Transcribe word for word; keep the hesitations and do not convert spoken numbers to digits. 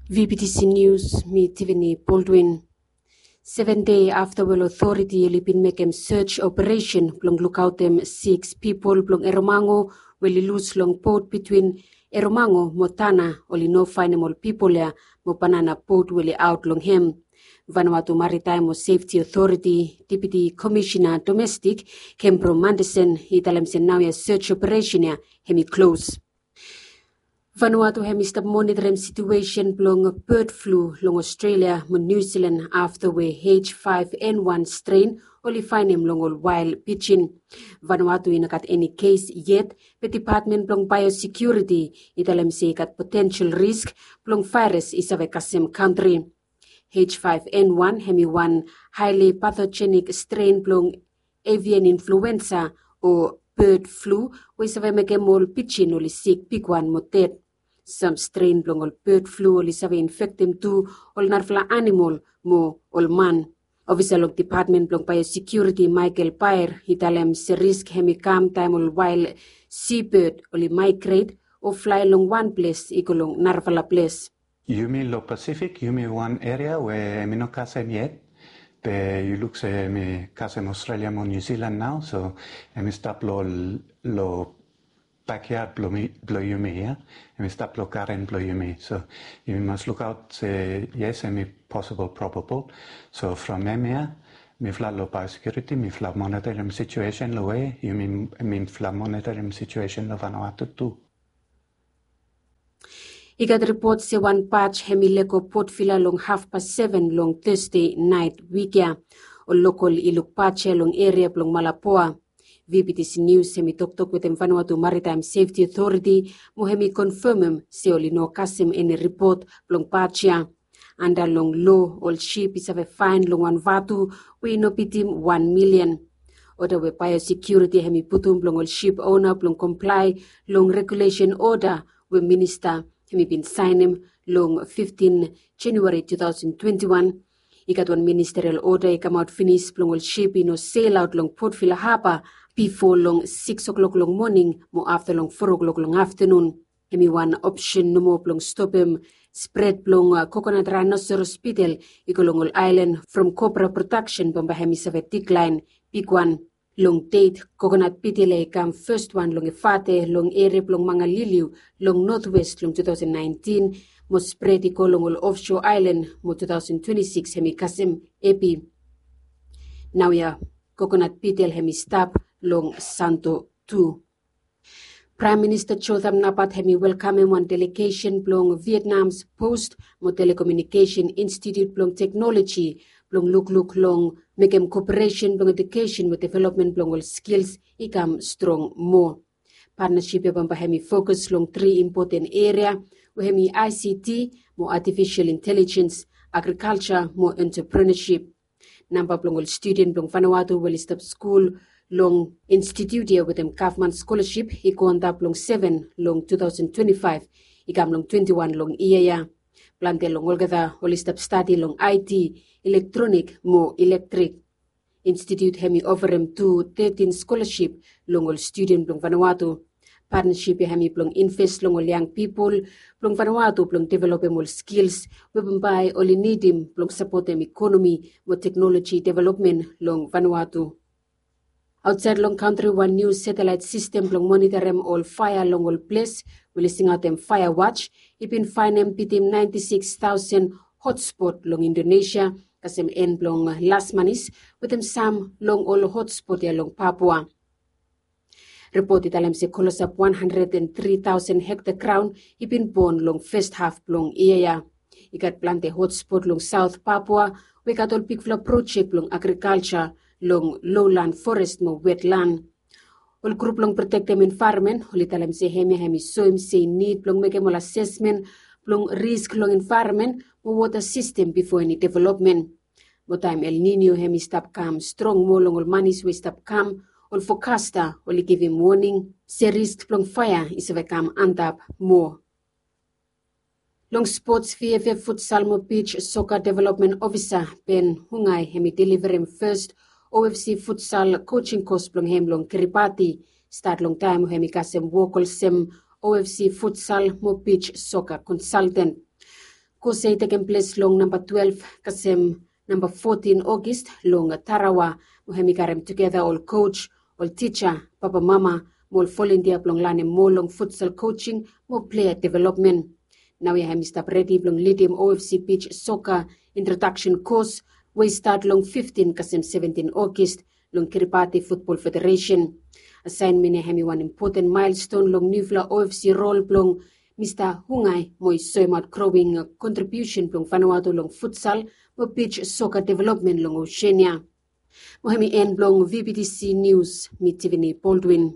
V B T C News, mi Tiffany Baldwin. Seven dei afta we ol otoriti oli bin mekem search operation blong lukaotem siks pipol blong Eromango we oli lus long bot bitwin Eromango mo Tanna, oli no faenem ol pipol ya mo banana bot we oli aot long hem. Vanuatu Maritime mo Safety Authority Deputy Commissioner Domestic Kembro Mandesen i talem se naoia search operation ya hem i klos. Vanuatu hem i stap monitorim situesen blong bird flu long Australia mo New Zealand afta we H five N one strain oli faenem long ol wael pijin. Vanuatu i no gat eni kes yet, be Department blong Biosecurity i talem se i gat potential risk blong vaeras i save kasem kantri. H five N one hem i wan highly pathogenic strain blong avian influenza o bird flu we i save mekem ol pijin oli sik bigwan mo ded. Sam strain blong ol bird flu oli save infektem tu ol narafala anamol mo ol man. Ofisa long Department blong Biosecurity Michael Baer i talem se risk hem i kam taem ol wael seabird oli migrate o flae long wan ples i go long narafala ples. Yumi long Pacific, yumi wan eria we hem i no kasem yet, be yu luk se hem i kasem Australia mo New Zealand nao, so hem i stap long, long backyard blong yumi ya. Hem i stap long garen blong yumi. So yumi mas lukaot se yes, hem i possible, probable. So from hemia mifala long biosecurity mifala monitorim situation long we yumi, mifala monitorim situation long Vanuatu tu. I gat ripot se wan baj hem i lego Port Vila long hafpas seven long Thursday naet wik ya. Ol lokol i luk baj ya long eria blong Malapoa. V B T C News hem i toktok wetem Vanuatu Maritime Safety Authority mo hem i konfemem se oli no kasem eni ripot blong baj ya. Anda long lo, ol sip i save faen long wan vatu we i no bitim wan milian. Oda we biosecurity hem i putum blong ol sip ona blong komplae long regulesen oda we minista hem i bin saenem long fiftin January two thousand twenty-one. I gat wan ministerial oda i kamaot finis blong ol sip i no selaot long Port Vila Haba bifo long sikis o'klok long moning mo afta long foa o'klok long aftanun. Hem i wan opsen nomo blong stopem spred blong kokonat raenosaurus bitel i go long ol aelan from copra prodaksen bambae hem i save diklaen bigwan. Long det, kokonat bitel ya i kam fes wan long Efate long eria blong Mangaliliu long notwes long two thousand nineteen mo spred i go long ol ofshoa aelan mo two thousand twenty-six hem i kasem epi. Naoia kokonat bitel hem i stap long Santo tu. Praem Minista Jotham Napat hem i welkamem wan delegesen blong Vietnam's Post mo Telecommunication Institute blong teknoloji blong lukluk long mekem koperesen blong edukesen mo developmen blong ol skils i kam strong moa. Patnasip ya bambae hem i fokus long tri impoten eria we hem i I C T mo artificial intelligence, agrikalja mo entrepreneurship. Namba blong ol studen blong Vanuatu we oli stap skul long institut ya wetem gavman skolasip i go antap long seven long two thousand twenty-five i kam long twenty-one long yia ya. Plante long olgeta oli stap stadi long I T, elektronik mo elektrik. Institut hem i oferem tu tetin skolasip long ol studen blong Vanuatu. Patnasip ya hem i blong inves long ol yang pipol blong Vanuatu blong developem ol skils we bambae oli nidim blong sapotem ikonomi mo teknoloji developmen long Vanuatu. Aotsaed long kantri, wan niu satelaet sistem blong monitorim ol faea long ol ples we oli singaotem faea watch i bin faenem bitim naenti siks taosen hotspot long Indonesia kasem en blong las manis wetem sam long ol hotspot ya long Papua. Ripot i talem se klosap wan handred and tri taosen hekta graon i bin bon long fes haf blong yia ya. I gat plante hotspot long Saot Papua we i gat ol bigfala projek blong agrikalja long lowland forest mo wetland. Ol grup blong protektem envaeronmen oli talem se hemia hem i soem se i nid blong mekem ol asesmen blong risk long envaeronmen mo wota sistem bifo eni developmen. Mo taem El Nino hem i stap kam strong moa long ol manis we i stap kam, ol fokasta oli givim woning se risk blong faea i save kam antap moa. Long spots, V F F futsal mo beach soccer development ofisa Ben Hungai hem i deliverem fes O F C futsal coaching course blong hem long Kiribati. Stat long taem we hem i kasem wok olsem O F C futsal mo beach soccer consultant. Kos ya i tekem ples long namba twelve kasem namba fotin Ogis long Tarawa, mo hem i karem tugeta ol koj, ol tija, papamama, mo ol volontia blong lanem moa long futsal kojing mo plea developmen. Naoia hem i stap redi blong lidim O F C Beach Soccer Introduction Course we i stat long fiftin kasem seventin Ogis long Kiribati Futbol Federeisen. Asaenmen ya hem i wan impoten maelston long niufala O F C rol blong Mista Hungai mo i soemaot growing kontribiusen blong Vanuatu long futsal mo beach soccer developmen long Oseania. Mo hem i en blong V B T C Nius, mi Tiffany Baldwin.